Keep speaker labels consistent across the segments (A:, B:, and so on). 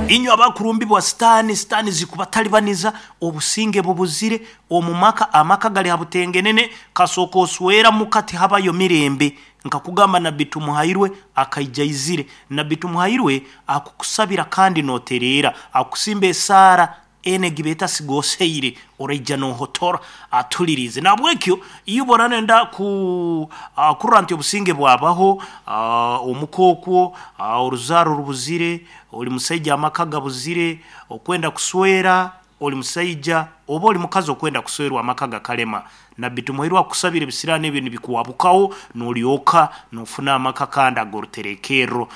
A: Inywe abakurumbibwa sitaani, sitaani zikubatalibaniza, obusinge bubuzire omu maka, amaka gali ha butengenene, kasooka oswera muka tihabayo mirembe. Nkakugamba Nabbi Tumuhairwe akaija aizire. Nabbi Tumuhairwe akukusabira kandi notereera, akusimba esaara enu egi beeta sigoseire, oraija nohotora atuliriize. Nahabwekyo iwe oraba noyenda ku kurora nti obusinge bwabaho omuka okwo, oruzaaro rubuzire, ori musaija amaka gabuzire, okwenda kuswera ori musaija oba ori mukazi okwenda kuswerwa amaka gakalema, Nabbi Tumuhairwe akukusabira ebisiraani ebyo nibikuwabukaho nolyoka nofuna amaka kandi ag'oruterekerro.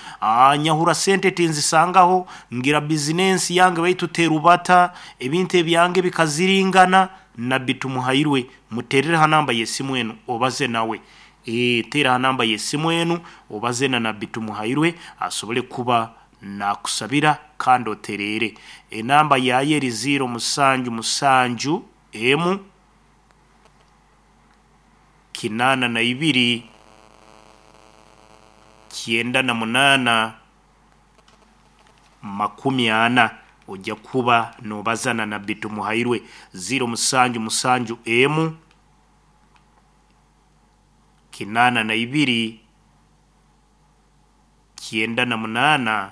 A: Nyahura sente tinzisangaho, ngira bizinensi yange baitu terubata, ebintu ebyange bikaziringana, Nabbi Tumuhairwe muterere ha namba y'esimu enu obaze nawe. Ee, teera ha namba y'esimu enu obaze na Nabbi Tumuhairwe asobole kuba nakusabira kandi otereere. Enamba yaayo eri ziiro musanju musanju emu kinaana na ibiri kyenda na munaana 40. Oja kuba nobaza na Nabbi Tumuhairwe. Ziiro musanju musanju emu 82 98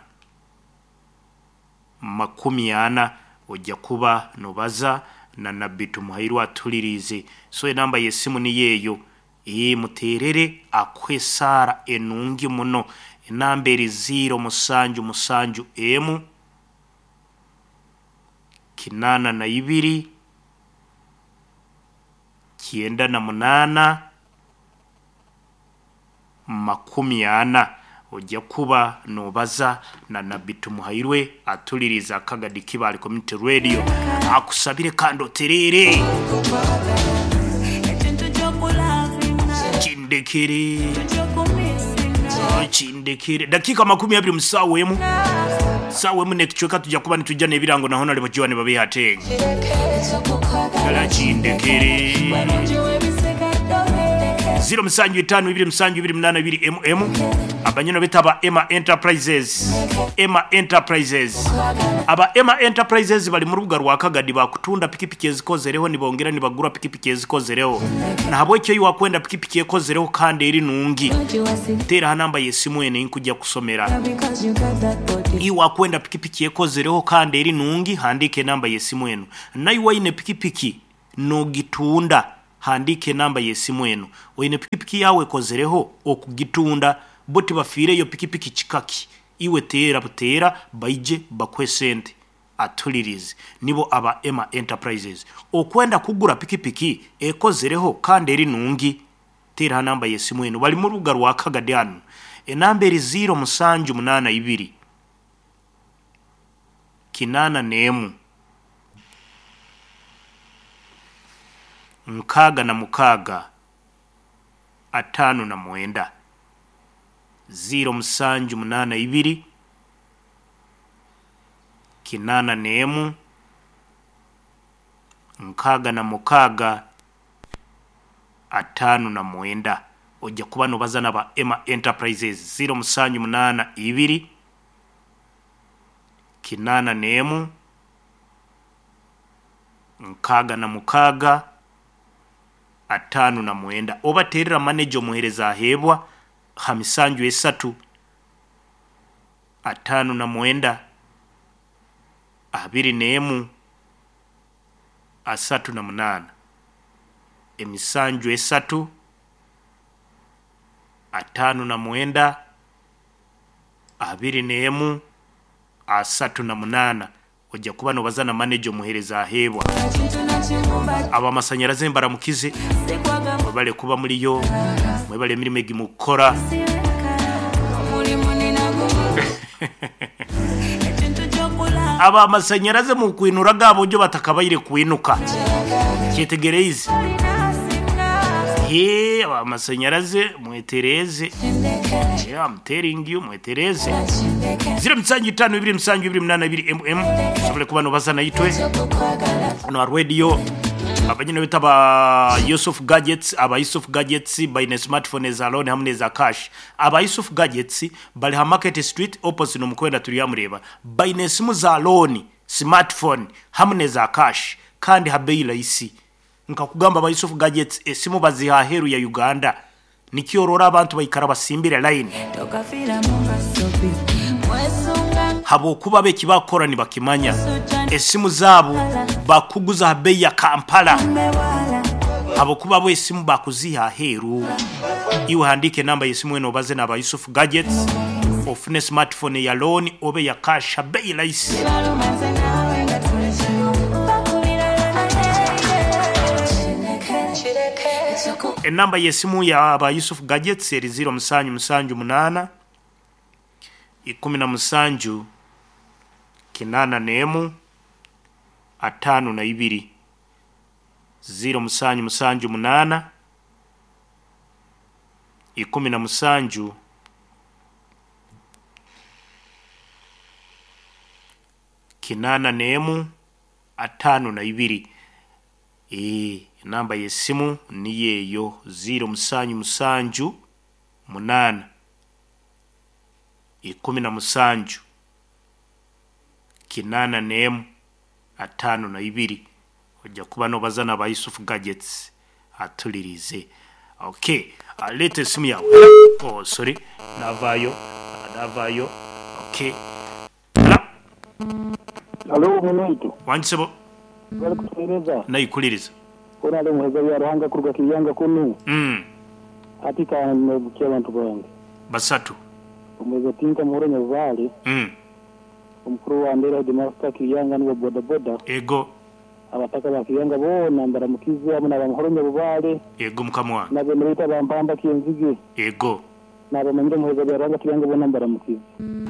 A: 40. Oja kuba nobaza na Nabbi Tumuhairwe atuliriize. So enamba y'esimu niyo eyo. Ee, muteerere akuhe esaara enungi muno. Enamba eri ziiro musanju musanju emu 82 98 40. Oja kuba nobaza na Nabbi Tumuhairwe atuliriize Akagadi Kibaale Community Radio akusabire kandi otereere. Kindekere, kindekere. Dakiika 20 mu saawa emu, saawa emu n'ekicweka tuja kuba nitwija n'ebirango na Honarebo Joan Babihateng. Ddala kindekere. 0 musanju itaanu ibiri musanju ibiri munaana ibiri emu emu abanyino betu aba Emma Enterprises Emma Enterprises aba Emma Enterprises bali mu rubuga rwa Kagadi bakutunda pikipiki ezikozereho nibongera nibagura pikipiki ezikozereho nahabwekyo iwe wakwenda pikipiki ekozereho kandi eri nungi teera ha namba y'esimu eno einkugya kusomera iwe wakwenda pikipiki ekozereho kandi eri nungi handiika enamba y'esimu eno naiwe oine pikipiki nogitunda Handiika enamba y'esimu eno. Oine pikipiki yaawe ekozereho okugitunda? Bo tibafiireyo pikipiki kika ki? Iwe teera buteera baije bakuhe sente. Atulirize. Nibo aba Emma Enterprises. Okwenda kugura pikipiki ekozereho kandi eri nungi? Teera ha namba y'esimu eno. Bali mu rubuga rwa Kagadi hanu. Enamba eri ziiro musanju munaana ibiri, 81. 66 59 0 7 8 2 81 66 59. Oja kuba nobaza naba Emma Enterprises 0 7 8 2 81 66 59. Oba teerera maneja omuheereza aheebwa ha misanju esatu 59 21 38. Emisanju esatu 59 21 38. Oja kuba nobaza na maneja omuhereza aheebwa. Abamasanyaraze mbaramukize mwebale kuba muriyo, mwebale emirimo egi mukukora. Abamasanyaraze mukwinura aga bojo batakabaire kwinuka. Kyetegereize? Hee abamasanyaraze mwetereeze. Yeah, I'm telling you mwetereeze. Ziro musanju itaano ibiri musanju ibiri munaana ibiri mm osobole kuba nobaza naitwe hano ha radio. Abanyine baitu aba Yusuf Gadgets, aba Yusuf Gadgets baine smartphone eza loan hamu n'eza cash. Aba Yusuf Gadgets bari ha Market Street opposite n'omukwenda Turyamureeba. Baine esimu za loan, smartphone hamu n'eza cash kandi ha beeyi rahisi. Nkakugamba aba Yusuf Gadgets esimu baziiha aheeru ya Uganda. Nikyo oroora abantu baikara basimbire layini. Habwokuba bo eki bakukora nibakimanya. Esimu zaabo bakuguza ha beeyi ya Kampala habwokuba bo esimu bakuziiha aheeru. Iwe handiika enamba y'esimu enu obaze n'aba Yusuf Gadgets ofune smartphone eya looni oba eya cash ha beeyi rahisi. Enamba y'esimu ya ba Yusuf Gadgets eri ziiro musanju musanju munaana, ikumi na musanju, kinaana n'emu, ataano na ibiri. Ziiro musanju musanju munaana, 17, 81, 52. Eeh, enamba y'esimu niyo eyo, ziiro musanju musanju munaana, 17, 81, 52. Oija kuba nobaza na ba Yusuf Gadgets atuliriize. Ok, leeta esimu yaawe. Hello? Oh, sorry, navaayo, navaayo. Ok. Hello?
B: Halo mwinaitu.
A: Wangi sebo.
B: Webale kutuhereza.
A: Naikuliriza.
B: Hoona ali omuhereza bya Ruhanga kuruga Kiryanga kunu. Hati ka nebukia abantu bange.
A: Basatu.
B: Omuhereza Tinka Muhoro Nyabubaale. Omukuru wa Ndera Headmaster Kiryanga nuwe boda boda.
A: Ego.
B: Abataka ba Kiryanga boona mbaramukize hamu n'aba Muhoro Nyabubaale.
A: Ego mukama wange.
B: N'abeene baitu aba Mpamba Kyenzige.
A: Ego.
B: N'abamanyire omuheereza Byaruhanga Kiryanga boona mbaramukize.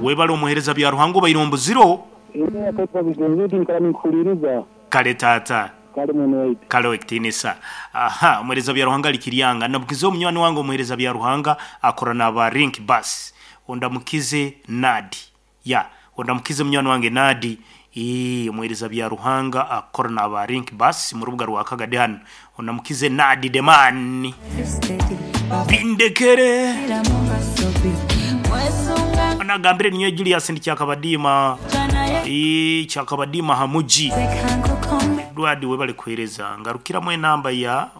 A: Webale omuheereza Byaruhanga obaire ombuzire.
B: Eeh akaitwa bigenzi baitu nkara ninkuhuliriza.
A: Kale taata.
B: Kale mwene waitu.
A: Kale ow'ekitiinisa. Aha, omuheereza Byaruhanga ari Kiryanga. Ndamukize omunywani wange omuheereza Byaruhanga akora n'aba Link Bus. Ondamukize Nadi. Ya, ondamukize munywani wange Nadi, ii, omuheereza Byaruhanga akukora n'aba Link Bus mu rubuga rwa Kagadi hanu. Ondamukize Nadi the man. Bindekere. Onagambire ninyowe Julius ndi Kyakabadiima, ii, Kyakabadiima ha muji. Edward webale kuheereza. Ngarukiramu enamba ya,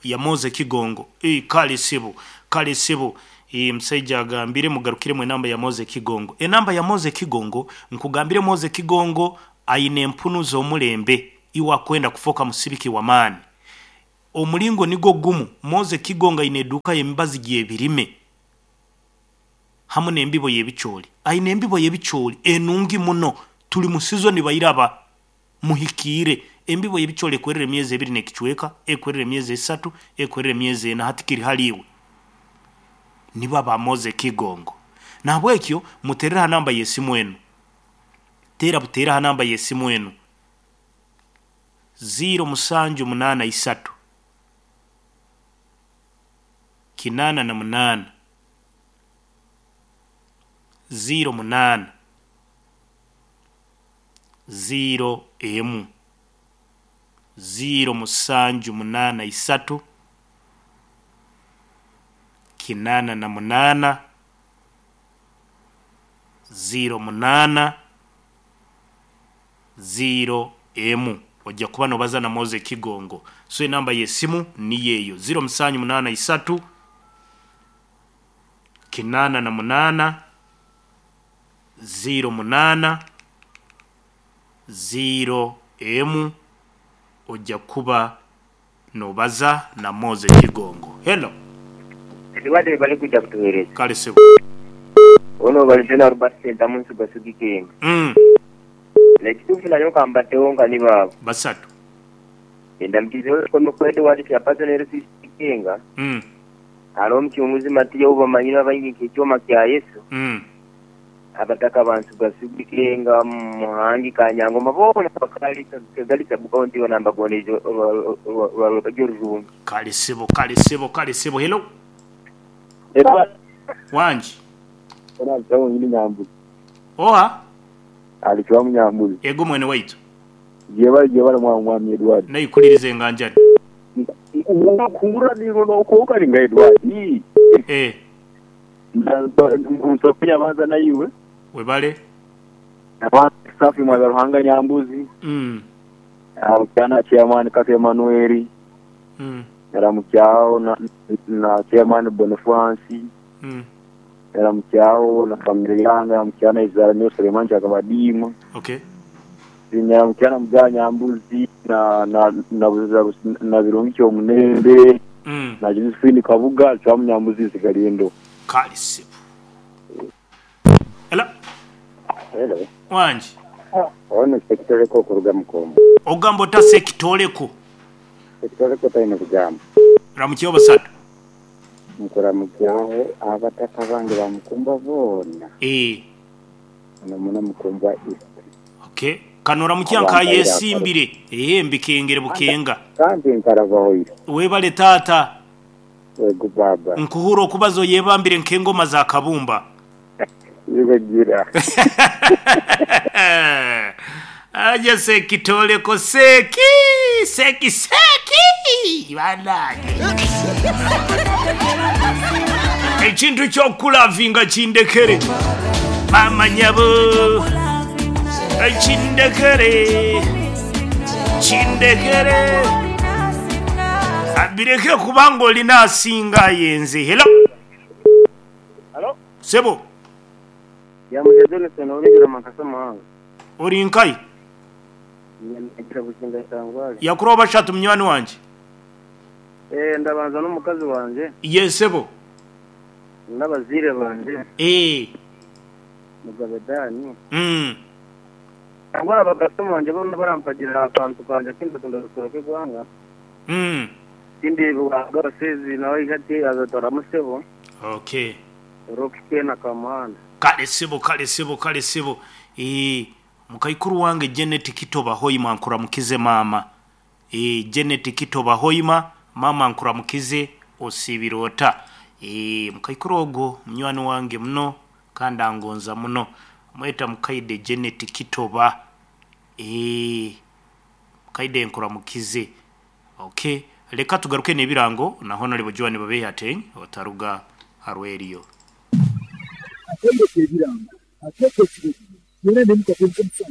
A: ya Moze Kigongo. Ii, kale sebo, kale sebo. Ii, Omusaija agambire mugarukiremu enamba ya Moze Kigongo. Enamba ya Moze Kigongo, nkugambire Moze Kigongo aine empunu z'omulembe iwe akwenda kufooka musibiki w'amaani. Omulingo nigwo gumu, Moze Kigongo aine eduuka y'emibazi gy'ebirime hamu n'embibo y'ebicoori. Aine embibo y'ebicoori enungi muno, tuli mu sizoni bairaba. Muhikiire. Embibo y'ebicoori ekwerera emyezi ebiri n'ekicweka, ekwerera emyezi esatu, ekwerera emyezi ena, hati kiri hali iwe. Nibo aba Moze Kigongo. Nahabwekyo muterere ha namba y'esimu enu. Teera buteera ha namba y'esimu enu, ziiro musanju munaana isatu, kinaana na munaana, ziiro munaana. Ziiro emu, ziiro musanju munaana isatu, kinaana na munaana, ziiro munaana, ziiro emu. Oja kuba nobaza na Moze Kigongo. So enamba y'esimu niyo eyo, ziiro musanju munaana isatu, kinaana na munaana, ziiro munaana, ziiro emu oja kuba nobaza na Moze Kigongo. Hello.
C: Edward webale kwija kutuhereza.
A: Kale sebo.
C: Ono obalize na Robert Sentamu Nsugasugi Kenga. Nekituufu nayo kambateho nka ni baabo.
A: Basatu.
C: Endamukizeho Komuko Edward Chairperson LCC Kenga. Hariho omucunguzi Matiya ou bamanyire abaingi nka Ekyoma kya Yesu. Abataka ba Nsugasugi, Kirenga, Muhangi, Kanyangoma boona abakaali Kigali Sub County yoona mbagoneize orwa rwebagyo rurungi.
A: Kale sebo, kale sebo, kale sebo. Hello. Wangi.
B: Hoona ali Chwamu Nyamburi.
A: Oha?
B: Ali Chwamu Nyamburi.
A: Ego mwene waitu.
B: Gyebale gyebale Mwami Edward.
A: Naikuliriza enganjani.
B: Nkuhurra niiwe nokwonka ninga Edward.
A: Eh.
B: Nsoke abanza naiwe.
A: Webale.
B: Nabanza Safi Mwaza Ruhanga Nyambuzi. Naramukya Chairman Kato Emmanuel. Naramukyaho na Chairman Bonifansi. Naramukyaho na family yange, naramukyaho na Izara Neo Suleiman Kyakabadiima.
A: Okay.
B: Naramukyaho na Mugaya Nyambuzi na na na na Birungi Kyomunembe na Josephine Kabuga Chwamu Nyambuzi Nsigarindo.
A: Kale ssebo. Hello.
D: Hello.
A: Wangi.
D: Ono Ssekitoleko okuruga Mukombo.
A: Ogamba ota Ssekitoleko?
D: Ssekitoleko taine bugambo.
A: Ramukyeho basatu.
D: Nkuramukyaho abataka bange ba Mukumbwa boona.
A: Eeh.
D: Muno muno Mukumbwa East.
A: Okay. Kano oramukya nka ayesimbire. Eeh mbikengere bukenga.
D: Kandi nkarabahoire.
A: Webale taata.
D: Wegu baaba.
A: Nkuhurra okubaza oyebambire nk'engoma za kabumba.
D: Iwe gira.
A: Aje Ssekitoleko Seki Seki Seki banange. Ekintu ky'okulavinga kindekere maama nyabo kindekere kindekere bireke kubanga olina asinga aye nze. Hello.
B: Halo.
A: Sebo.
C: Yamuja Jonathan ow'Engira Makasa Muhanga.
A: Ori nkahi?
C: Nyagira Bukinga Itangwari.
A: Yakura bashatu munywani wangye.
C: Eh, ndabanza n'omukazi wangye.
A: Ye sebo.
C: N'abazaire bangye.
A: Eh.
C: Mugabe Dan. Nangwa abakasitoma bangye boona barampagira aha kantu kangye aku ndatunda Rukoro rw'eihanga. Ekindi Ruhanga Abasezi nawe aije ati azatwaramu sebo.
A: Okay.
C: Rock Ken Kamuhanda.
A: Kale sebo kale sebo kale sebo eeh mukaikuru wange Janet Kitoba Hoima nkuramukize maama eeh Janet Kitoba Hoima maama nkuramukize osiibire ota eeh mukaikuru ogwo munywani wange muno kandi angonza muno mweta mukaide Janet Kitoba eeh mukaide nkuramukize Ok leka tugaruke n'ebirango na Honourable Joan Babehi otaruga ha rweriyo.
E: Akaire k'ebirango akeekwo ekiro kino, twena n'emikago nk'omusango.